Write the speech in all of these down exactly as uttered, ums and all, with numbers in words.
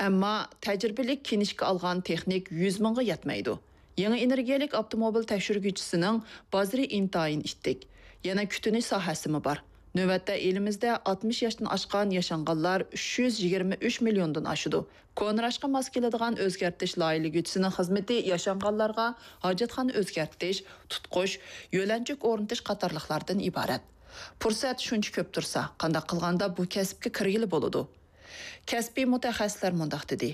ئەمما تەجرىبىلىك كىنىشكا ئالغان تېخنىك يۈز مىڭغا يەتمەيدۇ. يېڭى ئېنېرگىيەلىك ئاپتوموبىل تەكشۈرگۈچىسىنىڭ بازىرى ئىنتايىن ئىتتىك. يەنە كۈتۈنۈش ساھەسىمۇ بار. نۆۋەتتە ئېلىمىزدە ئاتمىش ياشتىن ئاشقان ياشانغانلار ئۈچ يۈز يىگىرمە ئۈچ مىليوندىن ئاشىدۇ. كونىراشقا ماس كېلىدىغان ئۆزگەرتىش لايىھىلىگۈچىسىنىڭ خىزمىتى ياشانغانلارغا ھاجەتخانا ئۆزگەرتىش، تۇتقۇش، يۆلەنچۈك ئورنىتىش قاتارلىقلاردىن ئىبارەت. پۇرسەت شۇنچە كۆپ تۇرسا، قانداق قىلغاندا بۇ كەسىپكە كىرگىلى بولىدۇ؟ كەسپىي مۇتەخەسسىسلەر مۇنداق دېدى: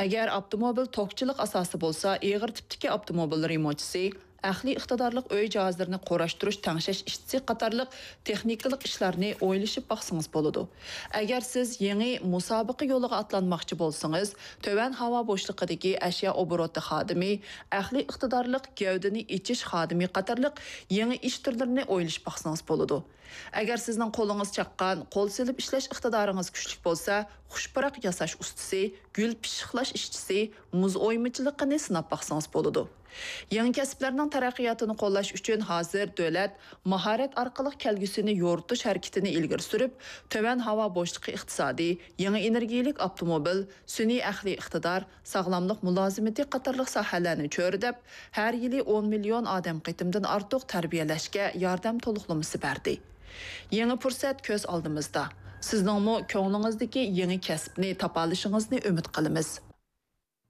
ئەگەر ئاپتوموبىل توكچىلىق ئاساسى بولسا، ئېغىر تىپتىكى ئاپتوموبىل رېمونتچىسى، ئەقلىي ئىقتىدارلىق ئۆي جاھازلىرىنى قۇراشتۇرۇش، تەڭشەش ئىشچىسى قاتارلىق تېخنىكىلىق ئىشلارنى ئويلىشىپ باقسىڭىز بولىدۇ. ئەگەر سىز يېڭى مۇسابىقە يولىغا ئاتلانماقچى بولسىڭىز، تۆۋەن ھاۋا بوشلۇقىدىكى ئەشيا ئوبوروتى خادىمى، ئەقلىي ئىقتىدارلىق گەۋدىنى ئېچىش خادىمى قاتارلىق يېڭى ئىش تۈرلىرىنى ئويلىشىپ باقسىڭىز بولىدۇ. ئەگەر سىزنىڭ قولىڭىز چاققان، قول سېلىپ ئىشلەش ئىقتىدارىڭىز كۈچلۈك بولسا، خۇش پۇراق ياساش ئۇستىسى، گۈل پىششىقلاش ئىشچىسى، مۇز ئويمىچىلىقىنى سىناپ باقسىڭىز بولىدۇ. يېڭى كەسىپلەرنىڭ تەرەققىياتىنى قوللاش ئۈچۈن ھازىر دۆلەت ماھارەت ئارقىلىق كەلگۈسىنى يورۇتۇش ھەرىكىتىنى ئىلگىرى سۈرۈپ، تۆۋەن ھاۋا بوشلۇقى ئىقتىسادى، يېڭى ئېنېرگىيەلىك ئاپتوموبىل، سۈنئىي ئەقلىي ئىقتىدار، ساغلاملىق مۇلازىمىتى قاتارلىق ساھەلەرنى چۆرىدەپ، ھەر يىلى ئون مىليون ئادەم قېتىمدىن ئارتۇق تەربىيەلەشكە ياردەم تولۇقلىمىسى بەردى. يېڭى پۇرسەت كۆز ئالدىمىزدا. سىزنىڭمۇ كۆڭلىڭىزدىكى يېڭى كەسىپنى تاپالىشىڭىزنى ئۈمىد قىلىمىز.